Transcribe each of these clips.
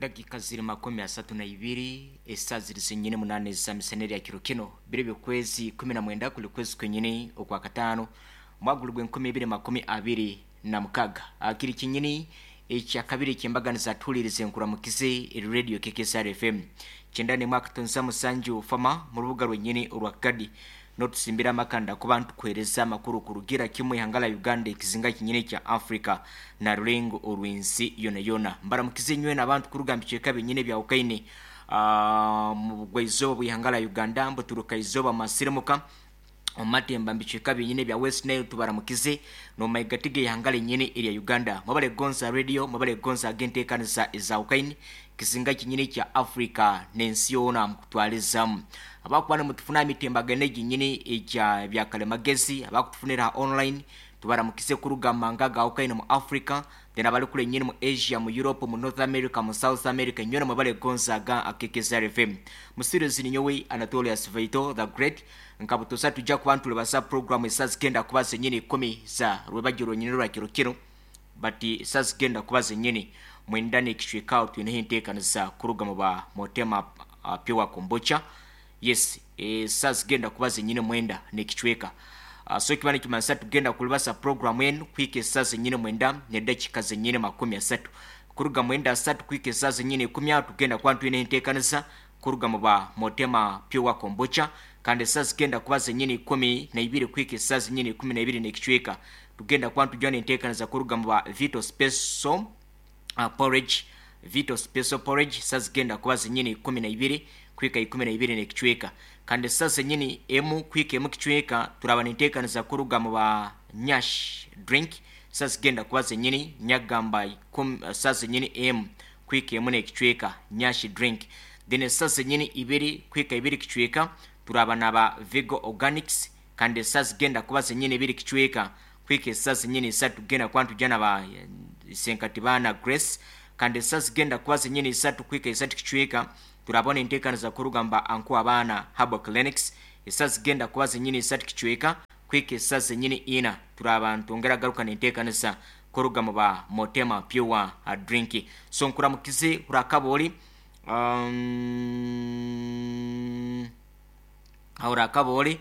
Edakika ziri 32 esaa ziri zenyini 8 ezamisana erya kiro kino biro by'okwezi 19 kuli kwezi kwenyini okwa kataano omwaka guri gw'enkumi ibiri 26. Kiri kinyini ekyakabiri ekyembaganiza tuhulirize nkuramukize eri radio KKSR FM 91.7 Fama mu rubuga rwenyini orwa Kagadi n'otusimbira amakanda kuba ntukuhereza amakuru kurugira kimwe ihanga la Uganda ekizinga kinyini kya Africa na rurengo orw'ensi yona yona. Mbaramukize nywena abantu kuruga mu bicweka binyini ebyahukayine mu bugwa-izooba bw'ihanga la Uganda, mbuturuka-izooba mu masirimuka, omu matemba mu bicweka binyini ebya West Nile tubaramukize n'omu maigati g'eihanga rinyini erya Uganda. Mwebale kugonza radio, mwebale kugonza ag'enteekaniza ezahukayine, kizinga kinyini kya Africa n'ensi yoona mukutwarizamu. Abakuba nimutufuna aha mitimbagano egi nyini egya byakarimagezi, abakutufunira aha online, tubaramukize kuruga mu mahanga agahukayine omu Africa, then abari kure nyini mu Asia, mu Europe, mu North America, mu South America, nywena mwebale kugonza aga KKSR FM. Mu series ninyowe Anatolius Vaito the Great, nka butosa tujja kuba nituribaza program esaa zigenda kuba zenyini 10 za rwebagyo rwenyini rwa kiro kinu, but esaa zigenda kuba zenyini 9 n'ekicweka aho twineho enteekaniza kuruga mu ba Motema Pure Kombucha. Yes, esaa zigenda kuba zenyini 9 n'ekicweka. So ekiba nikimanyisa tugenda kuribasa program enu kuhika esaa zenyini 9 n'edakiika zenyini 30. Kuruga 9:30 kuhika esaa zenyini 10 aho tugenda kuba ntwineho enteekaniza kuruga mu ba Motema Pure Kombucha, kandi esaa zigenda kuba zenyini 12 kuhika esaa zenyini 12 n'ekicweka tugenda kuba ntujwa n'enteekaniza kuruga mu ba Vito Special Porridge, Vito Special Porridge, esaa zigenda kuba zenyini 12 kuhika 12 n'ekicweka. Kandi esaa zenyini 1 kuhika 1 kicweka turaba n'enteekaniza kuruga mu ba Nyash Drink, esaa zigenda kuba zenyini nyagamba esaa zenyini 1 kuhika 1 n'ekicweka Nyash Drink. Then esaa zenyini 2 kuhika 2 kicweka turaba naba Vigo Organics, kandi esaa zigenda kuba zenyini 2 kicweka kuhika esaa zenyini 3 tugenda kuba ntujya naba Senkatibana Grace, kandi esaa zigenda kuba zenyini 3 kuhika 3 kicweka turabona enteekaniza kuruga mu ba Anku Abaana Herbal Clinics, esaa zigenda kuba zenyini 3 kicweka kuhika esaa zenyini 4 turaba ntwongera garuka n'enteekaniza kuruga mu ba Motema Pure Drink. So nkuramukize urakabori urakabori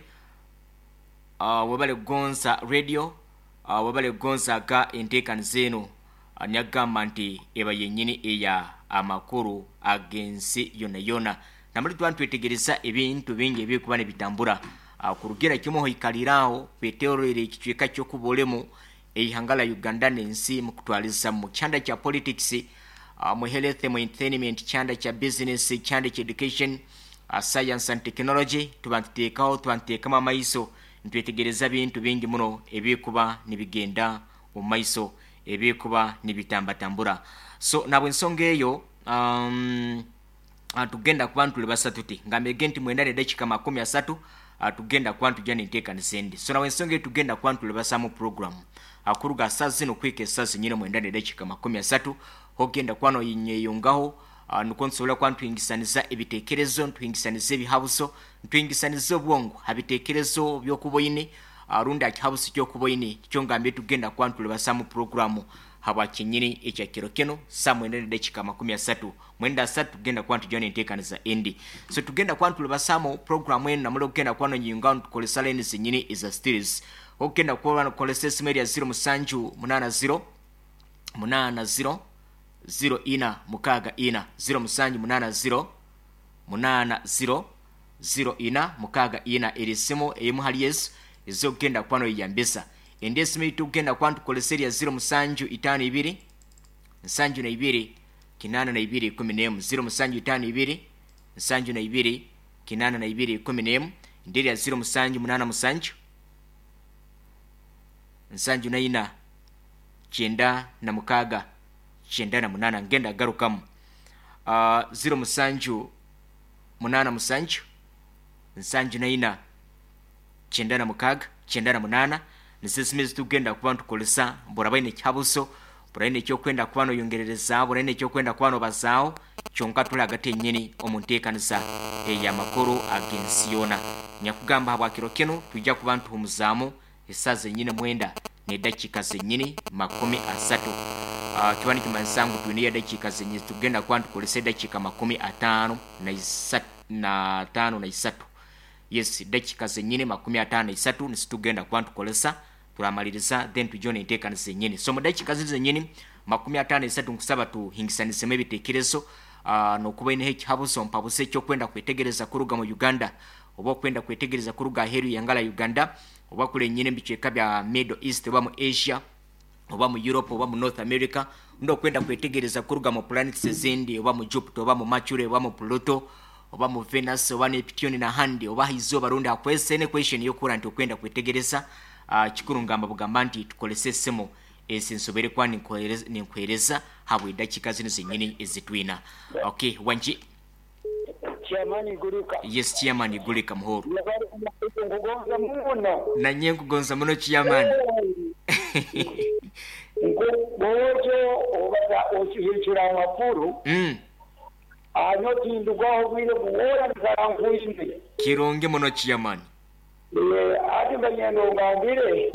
webale kugonza radio, webale kugonza ga enteekaniza eno nyagamba nti eba yenyini eya amakuru ag'ensi yona yona. Namuli tuba ntwetegereza ebintu bingi ebirikuba nibitambura kurugira kimwe ohikaliraho kweterorera ekicweka ky'okuba eihanga la Uganda n'ensi mukutwariza mu kyanda kya politics, mu health, mu entertainment, kyanda kya business, kyanda kya education, science and technology, tuba ntuteekaho, tuba ntuteekamu amaiso nitwetegereza bintu bingi muno ebirikuba nibigenda omu maiso, ebirikuba nibitambatambura. So nabwe ensonga eyo tugenda kuba ntulibasa tuti ngambege nti 9:30 tugenda kuba ntujya n'enteekaniza endi. So nabwe ensonga eyo tugenda kuba ntulibasamu program kuruga saa zino kuhika esaa zenyini 9:30 ogenda kuba noyinyeyongaho nukwo ntusobola kuba ntuhingisaniza ebiteekerezo, ntuhingisaniza ebihabuzo, ntuhingisaniza obwongo ha biteekerezo by'okuba oine rundi aha kihabuzo ky'okuba oine kyo ngambye tugenda kuba ntulibasamu program habwa kinyini ekya kiro kino saa 9:30 9:30 tugenda kuba ntujya n'enteekaniza endi. So tugenda kuba ntulibasamu program enu namuli okugenda kuba nonyingaho nitukoresa line zenyini eza series. Okugenda kuba nokoresa esimu erya 0780 80 04 64 0780 80 04 64 eri simu eimu hali ezo ezokugenda kuba noyeyambisa. Endi esimu ei tukugenda kuba nitukoresa erya 0752 72 82 11 0752 72 82 11 endi erya 0787 74 96 98 ngenda garukamu 0787 74 96 98 nizo esimu ezitugenda kuba nitukoresa buraba oine ekihabuzo, buraine ekyokwenda kuba noyongerereza, buraine ekyokwenda kuba nobazaaho, kyonka turi hagati yenyini omu nteekaniza ey'amakuru ag'ensi yoona. Nyakugamba habwa kiro kinu twija kuba nituhumuzaamu esaa zenyini 9:30. Kiba nikimanyisa ngu twineyo edakiika zenye tugenda kuba nitukoresa edakiika 53. Yes, dakiika zenyine 53 nizo tugenda kuba nitukoresa turamaliriza then tugye n'enteekaniza zenyini. So omu dakiika zinu zenyini 53 nkusaba tuhingisanisemu ebitekerezo n'okuba oineho ekihabuzo mpabuze eky'okwenda kwetegereza kuruga mu Uganda oba okwenda kwetegereza kuruga aheeru y'eihanga rya Uganda oba kuri enyine omu bicweka bya Middle East oba mu Asia oba mu Europe oba mu North America rundi okwenda kwetegereza kuruga mu planets ezindi oba mu Jupiter oba mu Mercury oba mu Pluto oba mu Venus oba Neptune n'ahandi oba aha izooba rundi aha kwezi any question y'okuhurira nti okwenda kwetegereza kikuru ngamba bugamba nti tukorese esimu ezi nsoboire kuba ninkuheereza habw'edakiika zinu zenyini ezi twina. Okay, wangi. Chairman Igurika. Yes Chairman Igurika Muhoro. Yebare nkugonza muno. Nanye nkugonza muno Chairman. Bwojo obaza okihikira amakuru. Anyo tindugwaho obwire bwona nkara nkwine. Kirungi muno Chairman. Ati mbanyenda ongambire.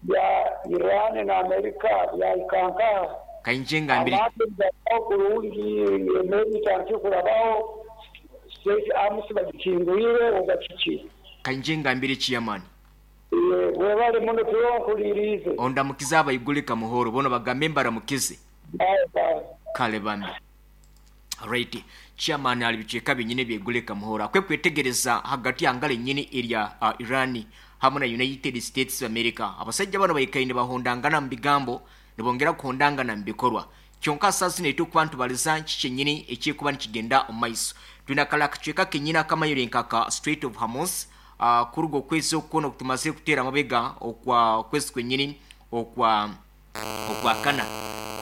Bya Iran na America byahika nkaha? Kainje ngambire. Amaato nigarabaho kurungi, emeeri etandikire kurabaho, Strait Arms bagikingwire oba kiki? Kainje ngambire Chairman. Webale muno turonkuririize. Ondamukize abaigurika Muhoro boona bagambe mbaramukize. Bye bye. Kale bambi. Right. Chairman ali bicweka byenyini ebyegurika Muhoro. Akwe kwetegereza hagati ya ngaro enyini erya Iran hamwe na United States of America. Abasajja bano baikaire nibahondangana omu bigambo nibongera kuhondangana omu bikorwa. Kyonka saaha zinu eitukuba nitubariza kiki kyenyini ekirikuba nikigyenda omu maiso. Twine akari akacweka kenyini akamayire nka ka Strait of Hormuz kuruga okwezi oku kwona oku tumazire kuteera amabega okwa okwezi kwenyini okwa Okwakana,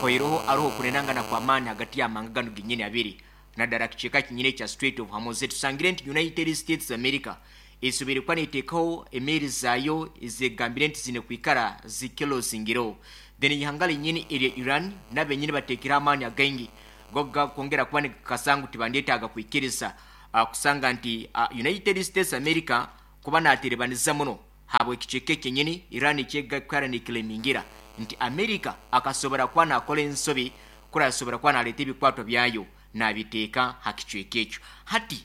kuhwaireho hariho okunenangana kw'amaani hagati y'amahanga ganu genyini abiri, nadara akicweka kinyini ekya Strait of Hormuz. Tusangire nti United States America esoboire kuba neteekaho emeeri zaayo ezegambire nti ziine kwikara zikilozingireho. Then eihanga rinyini erya Iran nabenyini bateekireho amaani againgi g'okwongera kuba nigakakasa ngu tibandyetaaga kwikiriza kusanga nti United States America kuba naterebaniza muno Habw'ekicweka ekyenyini, Iran eky'ekwikara nekilemingira nti Amerika akasobora kuba nakora ensobi kuri asobora kuba naleeta ebikwatwa byayo nabiteeka ha kicweka ekyo. Hati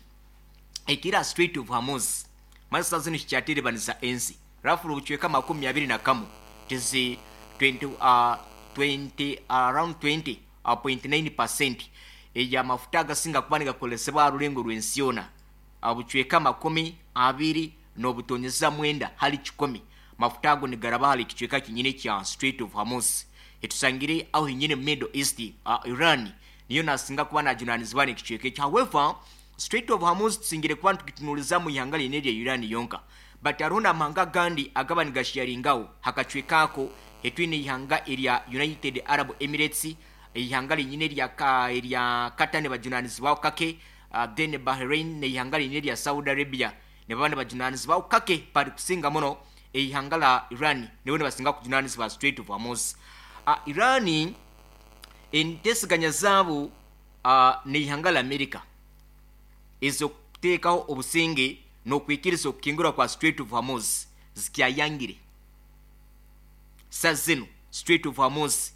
ekiri ha Strait of Hormuz mali saaha zinu kikyaterebaniza ensi roughly obucweka 21 tizi 20, 20, around 20.9% ey'amafuta agasinga kuba nigakozesebwa aha rurengo rw'ensi yoona. Obucweka 29 hali kikumi mafuta ago nigaraba ahari ekicweka kinyini ekya Strait of Hormuz etusangire aho hinyini omu Middle East. Iran niyo nasinga kuba najunanizibwa n'ekicweka ekyo. However, Strait of Hormuz tusingire kuba nitugitunuliza omu ihanga ryine erya Iran yonka but hariho n'amahanga agandi agaba nigasharingaho hakacweka ako. Hetwine eihanga erya United Arab Emirates, eihanga rinyine erya Qatar nibajunanizibwaho kake. Then Bahrain n'eihanga rindi erya Saudi Arabia nibaba nibajunanizibwaho kake bari kusinga muno eihanga la Iran nibo nibasinga kujunanizibwa Strait of Hormuz. Iran enteeseganya zaabo n'eihanga la America ez'okuteekaho obusinge n'okwikiriza okukingurwa kwa Strait of Hormuz zikyayangire. Saaha zinu Strait of Hormuz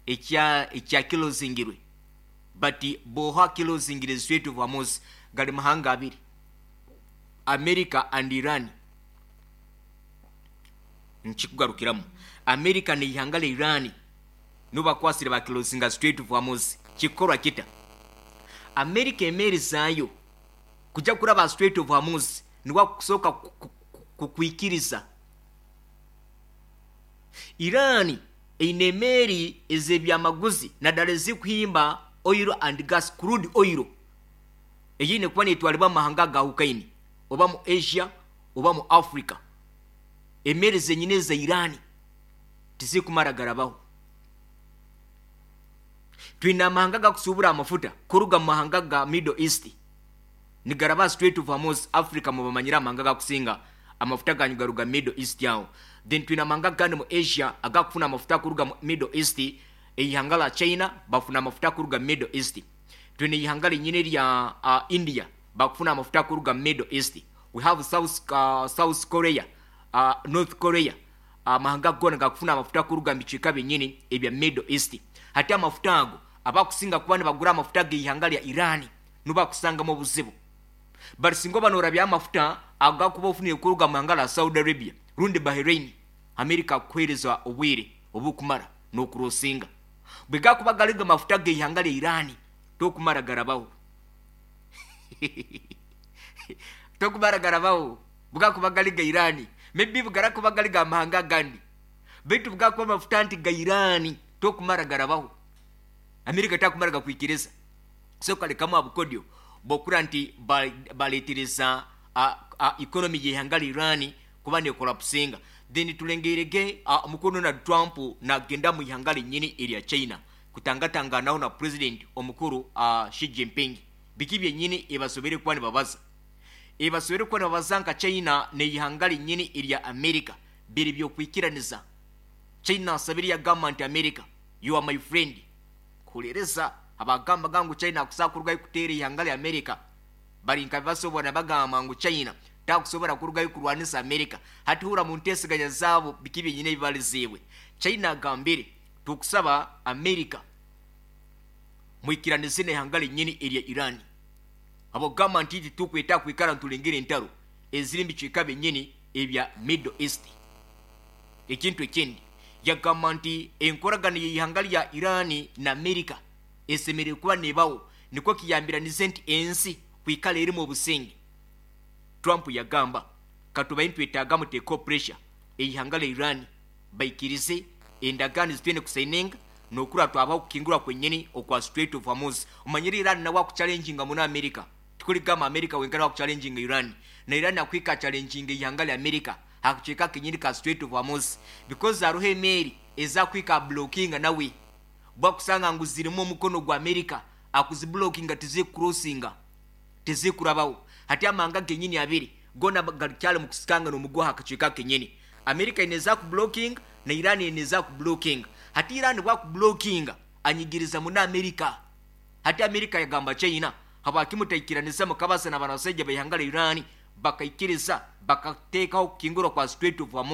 ekyakilozingirwe. But bwoha kilozingire Strait of Hormuz gari mahanga abiri America and Iran nkikugarukiramu America neihanga rya Iran nibo bakwasire ba kilozinga Strait of Hormuz kikukorwa kita America emeeri zaayo kuja kuraba aha Strait of Hormuz niwe akusoka kukwikiriza Iran Eine emeeri ez'ebyamaguzi nadala ezirikuhimba oil and gas, crude oil, eyeine kuba netwaribwa mumahanga agahukaine oba mu Asia oba mu Africa. Emeeri zenyine eza Iran tizirikumara garabaho. Twine amahanga agakusubura amafuta kuruga mumahanga ga Middle East nigaraba aha Strait of Hormuz, Africa mubamanyire amahanga agakusinga amafuta ganyu garuga Middle East aho. Then twine amahanga agandi mu Asia agakufuna amafuta kuruga mu Middle East, eihanga la China bafuna amafuta kuruga Middle East. Twine eihanga rinyine erya India bakufuna amafuta kuruga Middle East. We have South, South Korea, North Korea, amahanga goona gakufuna amafuta kuruga mu bicweka byenyini ebya Middle East. Hati amafuta ago abakusinga kuba nibagura amafuta g'eihanga lya Iran nubakusangamu obuzibu. Barisinga oba norabya amafuta agakuba ofunire kuruga mu ihanga lya Saudi Arabia rundi Bahrain, America akuhereza obwire obukumara nokurosinga. Bwegakuba gari mafuta g'eihanga lya Iran tokumara garabaho. Tokumara garabaho bugakuba gari ga Iran. Maybe bugarakuba gari ga mahanga agandi. Baitu bugakuba amafuta nti ga Iran tokumara garabaho. America takumara gakwikiriza. So kalekamu abukodyo bokura nti baletereza economy y'eihanga lya Iran kuba nekolapsinga. Then tulengerege omukuru Donald Trump nagenda mu ihanga lyenyini erya China kutangatanganaho na president omukuru Xi Jinping. Biki byenyini ebasobere kuba nibabaza? Ebasobere kuba nibabaza nka China n'eihanga lyenyini erya America biri byokwikiraniza. China asabire yagamba nti America you are my friend. Kuhuririza abagambaga ngu China akusobola kurugayo kuteera eihanga lya America bari nka basobora bagamba ngu China takusobora kurugayo kurwanisa America. Hati hura mu nteeseganya zaabo biki byenyini ebibariziibwe. China agambire tukusaba America mwikiranize n'eihanga lyenyini erya Iran. Abagamba nti titukweta kwikara ntulengera entaro eziri mu bicweka byenyini ebya Middle East. Ekintu ekindi yagamba nti enkoragano y'eihanga lya Iran na America esemereire kuba nebaho nikwo kiyambiranize nti ensi kwikara erimu obusinge. Trump yagamba katubaye ntwetaaga muteeko pressure eihanga lya Iran baikirize endagaano zitwine kusayininga nokura twabaho kukingurwa kwenyini okwa Strait of Hormuz. Omanyire Iran nawe akuchallenginga muno America. Tikuligamba America wenkana wakuchallenginga Iran. Na Iran akwika challenginga eihanga lya America hakucheka kenyini ka Strait of Hormuz because hariho emeeri ezakwika blockinga nawe bwakusanga ngu zirimu omukono gwa America akuziblockinga tizikucrossinga tizikurabaho. Hati amanga genyini abiri gona galikyali mu kusikanga n'omuguha hakacweka kenyini. America ineza ku blocking na Iran ineza ku blocking. Hati Iran bwa ku blocking anyigiriza muna America. Hati America yagamba China habakimutaikiraniza mukabasa na banasajja behanga la Iran bakaikiriza bakateekaho kukingurwa kwa Strait of Hormuz.